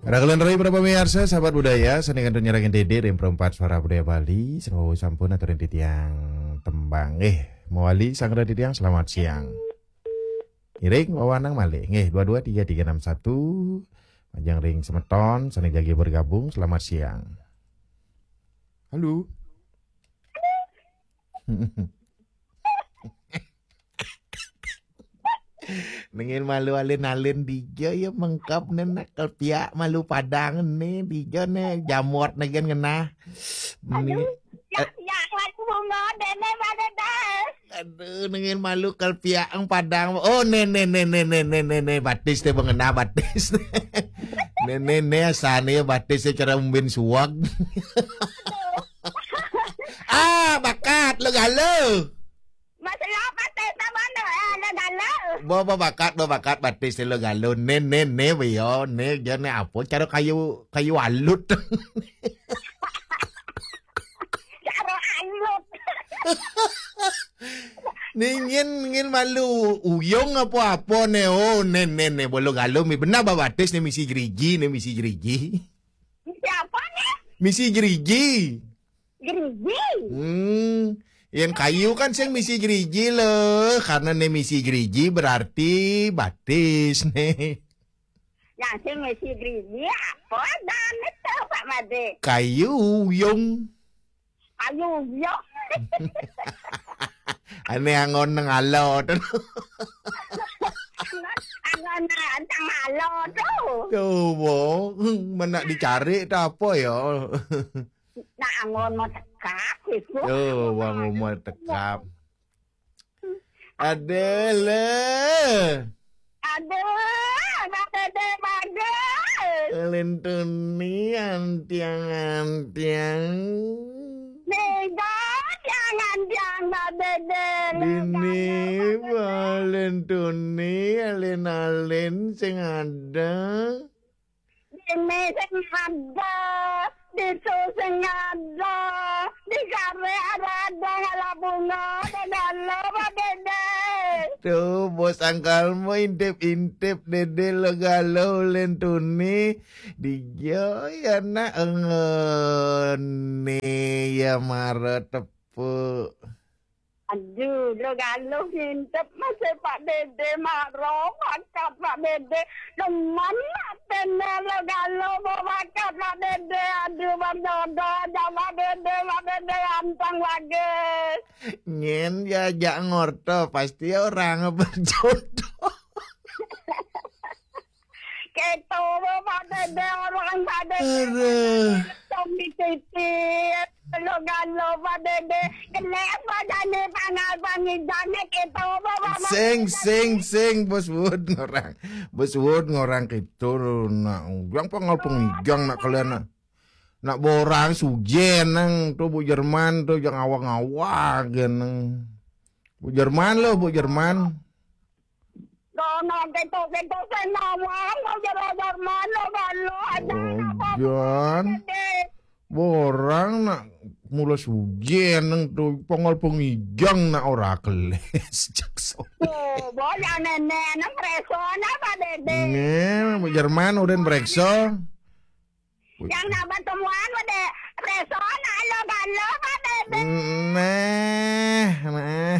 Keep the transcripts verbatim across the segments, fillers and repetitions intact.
Raghalan Rai, para pamiarsa, sahabat budaya, sané kantun nyarengin Dédé ring Perempat Suara Budaya Bali, sané wau sampun aturin titiang tembang. Eh, mawali sareng titiang, selamat siang. Iring wewanang malih. Nggih, dua dua tiga tiga enam satu. Majeng ring semeton sané jagi bergabung, selamat siang. Halo. Nengin malu alin-alin dija ya mengkap nen kelpiak malu padang ne dija ne jamot negen ngenah. Aduh, ya, ya, aku bunga dene pada dah. Aduh, nengin malu kelpiak ang padang. Oh, ne ne ne ne ne ne ne ne batis teh bengenah batis. Ne ne ne asane batis teh cara umbin suag. Ah, bakat lo galo. Masalah apa teh sama no, eh, ada galo. Bo bo bakat bo bakat batis lo galo. Ne ne ne bio ne jane apa cara kayu kayu alut. Cara alut. Ningin ningin malu uyung apa-apa ne. Oh, ne ne ne bolo galo mi benar babatis ne misi jeriji ne misi jeriji. Siapa ne? Misi jeriji. Jeriji. Hmm. Yen kayu kan sing misi jeriji lo, karena ne misi jeriji berarti batis ne. Nah, sing misi jeriji apa dan itu Pak Made? Kayu uyung. Kayu uyung. Ane angon nang alot. Angon nang alot tuh. Tuh, bo. Menak dicari ta apa ya? Nak angon mau tekap gitu. Tuh, wong mau tekap. Ada le. Aduh, anak dede bagus. Lentuni antiang-antiang. Nih, jangan, jangan, Mbak Dede. Dini balentuni alin-alin sing ada. Dene sing ada, ditu sing ada, di kare ada-ada ngalah bunga, ada galo, Pak Dede. Tuh, bos angkalmu intip-intip, Dede lo galo, lentuni. Dijo ya nak, ngene ya mara tepuk. Aduh, lo galo ngintip masih Pak Dede maro bakat Pak Dede. Demen atene lo galo mau bakat Pak Dede. Aduh, berjodoh aja Pak Dede, Pak Dede ganteng bagus. Nyen diajak ngorto, pasti orang berjodoh. Keto, Pak Dede, orang Pak Dede. Aduh. Tommy Titi. Lo galo, Pak Dede. Kena apa jane pangal pangidane keto, Pak, Pak, Pak. Sing, sing, sing, Bos Wud ngorang. Bos Wud ngorang keto, nak ujang pangal pengigang nak kalian, nak. Nak borang sujen nang tu Bu Jerman tu jang awang-awang nang. Bu Jerman lo, Bu Jerman. Dono keto-keto sing nawang, mau jalan Jerman lo galo, aja Oh, apa Jan. Dede. Borang nak mula sujen nang tu pongol pengijang nak ora keles. Jakso. Oh, boy, yang nenek nang preso na Pak Dede. Nge, Bu Jerman udah preso. Yang nak pertemuan udah preso na lo galo Pak Dede. Nah, nah.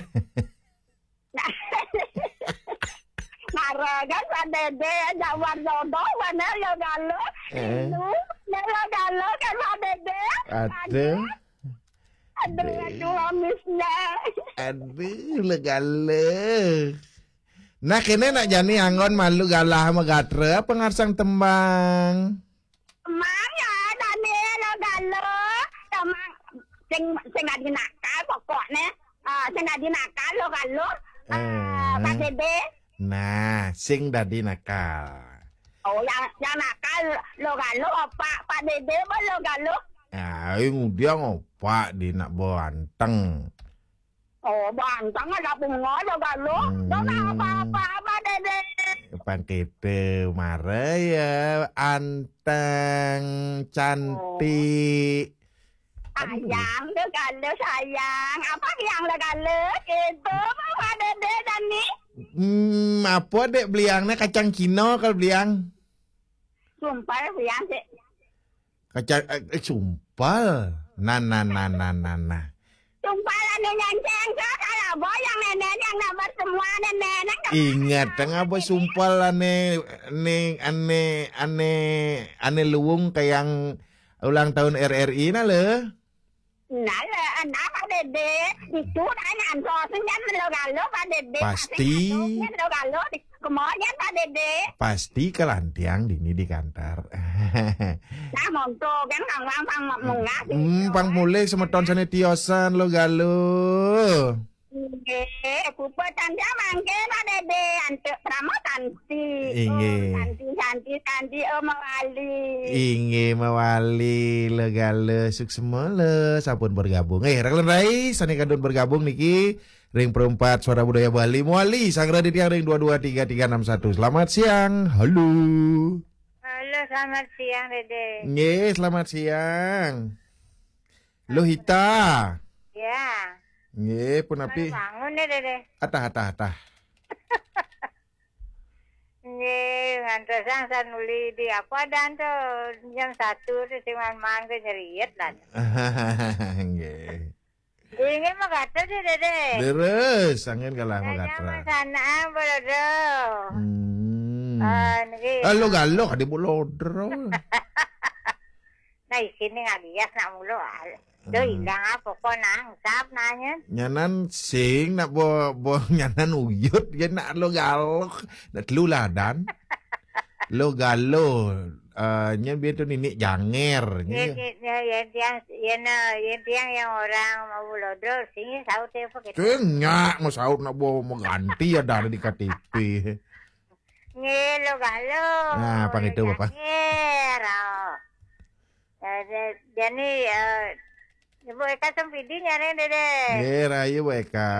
Mara kan Pak Dede, jak war jodoh mana lo galo. Eh. Lu, nak lo galo kan Pak Dede. Aduh. Aduh, aduh, amisnya. Aduh, lo galo. Nah, kene nak jani anggon malu galah magatra apa ngarsang tembang? Mang ya, Daniel lo galo. Sama sing sing dadi nakal pokokne. Ah, sing dadi nakal lo galo. Ah, Eh. Pak Dede. Nah, sing dadi nakal. Oh, yang yang nakal lo galo apa Pak Dede apa lo galo? Ai ngudiang opak di nak banteng. Oh, banteng ada bunga lo galo. Hmm. Dona apa-apa Pak Dede. Pang kita mara ya anteng cantik. Aduh. Sayang lo galo sayang. Apa yang lo galo? Itu Pak Dede dan ni. Hmm, apa dek beliangnya kacang Cina kalau beliang? Sumpal, ya, sih. Kaca, eh, eh, sumpal. Nah, nah, nah, nah, nah, nah. Sumpal anu nyanceng ke, kalau boyang nenek yang nomor semua nenek. Ingat, tengah apa sumpal ane, ane, ane, ane, ane luwung ke yang ulang tahun R R I na le. Nah, le, nah, Pak Dede. Itu tanya antos, kan lo galo, Pak Dede. Pasti. Lo galo, kemudian Pak Dede. Pasti kelantiang dini di kantor. Nah, monto kan kang lang pang munggah. Hmm, pang mulih semeton sane tiosan lo galo. Nggih, kupa tanda mangke Pak Dede, antuk prama tanti. Inggih. Oh, tanti, tanti, tanti, oh, mawali. Inggih, mawali, lo galo, suksma le, sampun bergabung. Eh, Raglan Rai, sane kadun bergabung niki, ring Perempat Suara Budaya Bali, mawali, sanggra di tiang ring dua dua tiga tiga enam satu. Selamat siang, halo. Halo, selamat siang, Dede. Nggih, selamat siang. Lohita. Ya. Nggih, punapi? Bangun ya, Dede. Atah, atah, atah. Nggih, ngantosang sanuli di apa dan tuh jam satu tuh sing man-man ke nyeriet dan. Nggih. Inggih mah kata sih, Dede. Leres, angin kalah mah kata. Sana, Bolodo. Hmm. Ah, niki. Ah, lo galo, kadi Bolodo. Nah, isine ngalias nak mulu. Lo hilang apa kok nang sap nanya? Nyanan sing nak bo, bo nyanan uyut ya nak lo galo. Nak telu ladan. Lo galo. Eh, nyen biar tu nini janger. Yen, yen, yen, yen tiang, yen, eh, yen tiang yang orang mau lodro, sini saut ya, apa gitu? Sing nyak, mau saut nak bawa mengganti ya dari di K T P. Nggih, lo galo. Nah, apa gitu, Bapak? Janger, oh. Eh, de-, jadi, eh, Ibu Eka Sempidi nyari, Dede. Nggih, rahayu, Bu Eka.